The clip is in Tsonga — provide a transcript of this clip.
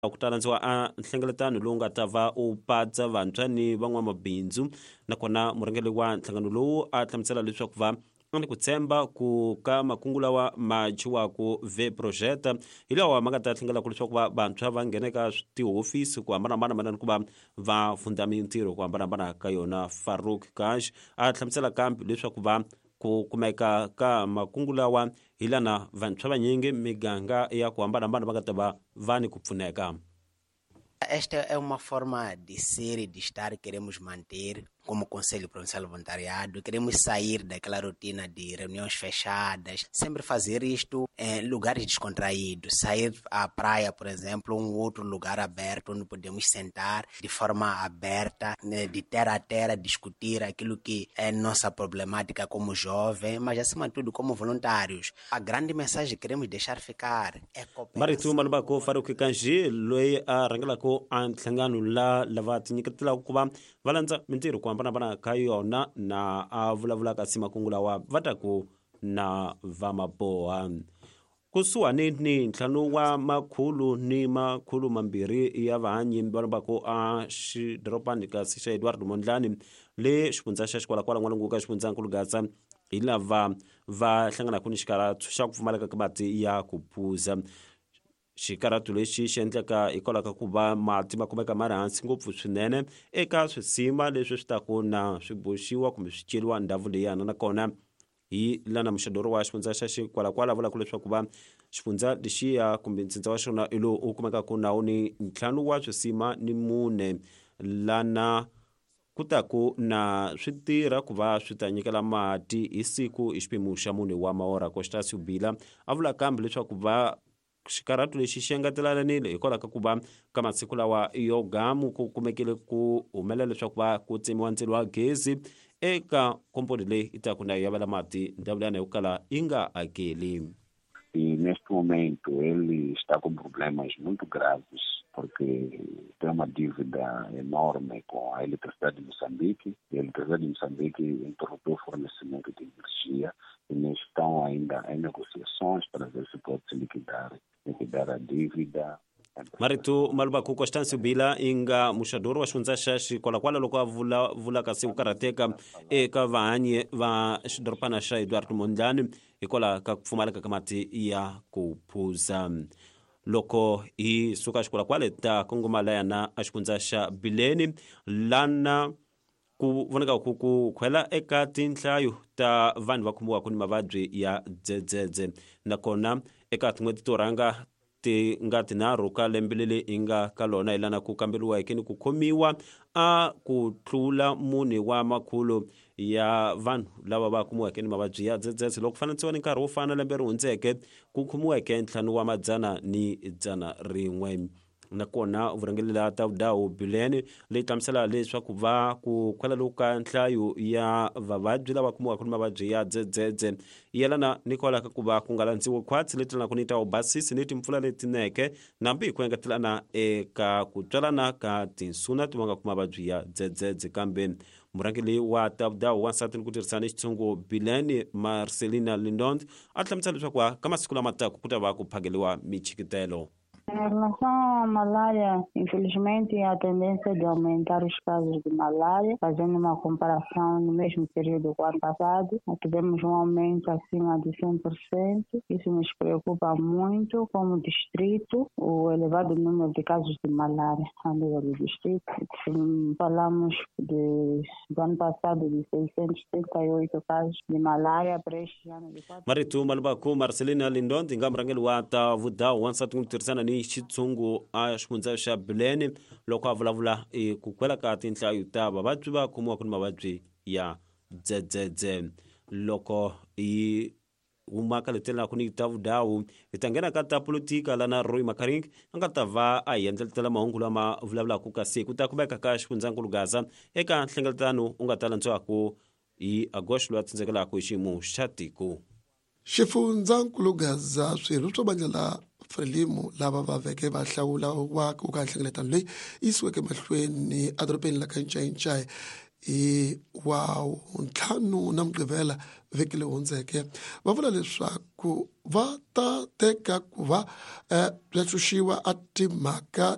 Ku ta landziwa a nhlengeletano lowu nga ta va u patsa vantshwa ni van'wamabindzu, nakona murhangeri wa nhlangano lowu a hlamusela leswaku va ni ku tshemba ku ka makungu lawa ma dyiwaku ve project hi lawa ma nga ta hlengelaka leswaku va vantshwa va nghena eka tihofisi ku hambanahambana mayelana ku va va fundza mintirho ku hambanahambana ka yona. Farouk Kash a hlamusela kambe leswaku va ku kumeka ka makungu lawa hi lana vantshwa vanyingi miganga ya ku hambanahambana va nga ta va va ni ku pfuneka. Esta é uma forma de ser e de estar que queremos manter como Conselho Provincial Voluntariado. Queremos sair daquela rotina de reuniões fechadas, sempre fazer isto em lugares descontraídos, sair à praia, por exemplo, um outro lugar aberto onde podemos sentar de forma aberta, né, de terra a terra, discutir aquilo que é nossa problemática como jovem, mas acima de tudo como voluntários. A grande mensagem que queremos deixar ficar é cooperação. Marito Malubako Faruki Kanji loyi a rhangelaka a nhlangano la lava tinyiketelaka ku va va landza mintirho ku hambanahambana ka yona na a vulavulaka si makungu lawa va ta ku na va maboha kusuhani ni 2 wa makhulu ni makhulu mambirhi ya vahanyi va lombaka a xidorobani kasi xa Edward Mondlane le xifundza xa Xikwalakwala n'walungu ka xifundzankulu Gaza hi lava va hlanganaka ni xikarhato xa ku pfumaleka ka mati ya ku phuza. Xikarhato lexi xi endleka hikwalaho ka ku va mati ma kumeka ma ri hansi ngopfu swinene eka swisima leswi swi taku na swi boxiwa kumbe swi ceriwa ndhawu leyana, nakona hi lana muxadoro wa xifundza xa Xikwalakwala vulaka leswaku va xifundza lexiya kumbe ntsindza wa xona i lowu u kumekaka nawu ni 5 wa swisima ni 4 lana ku taku na swi tirha ku va swi ta nyikela mati hi siku hi xiphemu xa 4 wa maora. Constancio Bila a vula kambe leswaku va xikarhato lexi xi engetelanile hikwalaho ka ku va ka masiku lawa yo gamu ku kumekile ku humelela leswaku va ku tsemiwa ndzilo wa gezi eka komponi leyi yi taku na yavela mati ndhawu liyana yo kala yi nga hakeli. E neste momento ele está com problemas muito graves porque tem uma dívida enorme com a Eletricidade de Moçambique, e a Eletricidade de Moçambique interrompeu o fornecimento de energia e estão ainda em negociações para ver se pode se liquidar a dívida. Marito Malubaku Constancio Bila inga muxadoro wa xifundza xa Xikwalakwala loko a vula kasi ku karhateka eka vahanyi va xidorobana xa Edward Mondlane hikwalaho ka ku pfumaleka ka mati ya ku phuza. Loko hi suka Xikwalakwala ta kongoma layana a xifundza xa Bileni lana ku vonaka ku khwela eka tinhlayo ta vanhu va khomiwaka ni mavabyi ya dzedzedze, nakona eka tin'hweti to rhanga ti nga tinharhu ka lembe leri hi nga ka lona hi lana ku kamberiweke ni ku khomiwa a ku tlula 4 wa makhulu ya vanhu lava va kumiweke ni mavabyi ya dzedzedze loko fananisiwa ni nkarhi wo fana lembe ri hundzeke ku khomiweke 5 wa madzana ni 101. Nakona vurhangeri la ta vudawu Bileni leyi hlamusela leswaku va ku khwela loku ka nhlayo ya vavabyi lava kumiwaka ni mavabyi ya dzedzedze yelana ni kwalaho ka ku va ku nga landziwi khwatsi leti lanaka ni ta vubasisi ni timpfula letineke nambi hi ku engetelana eka ku tswalana ka tinsuna ti vangaka mavabyi ya dzedzedze. Kambe murhangeri wa ta vudawu wansati ni ku tirhisana xitshungu Bileni Marcelina Lindond a hlamusela leswaku ka masiku lama taka ku ta va ku phakeliwa michikitelo. Em relação à malária, infelizmente a tendência é de aumentar os casos de malária, fazendo uma comparação no mesmo período do ano passado, tivemos um aumento acima de 100%. Isso nos preocupa muito como distrito, o elevado número de casos de malária a nível do distrito. Falamos do ano passado de 638 casos de malária para este ano de 4. Marito Malubaku Marcelina Lindond nga murhangeri wa ta vudawu wansati ku tirhisana ni xitshungu a xifundza xa Bileni loko a vulavula ku kwela ka tinhlayo ta vavabyi va khomiwaka ni mavabyi ya dzedzedze. Loko hi huma ka letelaka ni ta vudawu hi ta nghena ka ta politika lana Roy Makaring a nga ta va a hi endletela mahungu lama vulavulaka kasi ku ta kumeka ka xifundzankulu Gaza eka nhlengeletano u nga ta landziwaka hi Agosto loyi a tsindzekelaka hi xiyimo xa tiko. Xifundzankulu Gaza swirho swa vandla la Frelimo lava va veke va hlawula wa ku ka nhlengeletano leyi yisiweke mahlweni edorobeni la ka Ncayincai Hi wa ntlhanu na Mugqivela vhiki leyi hundzeke, va vula leswaku va ta teka ku va ya xuxiwa a timhaka.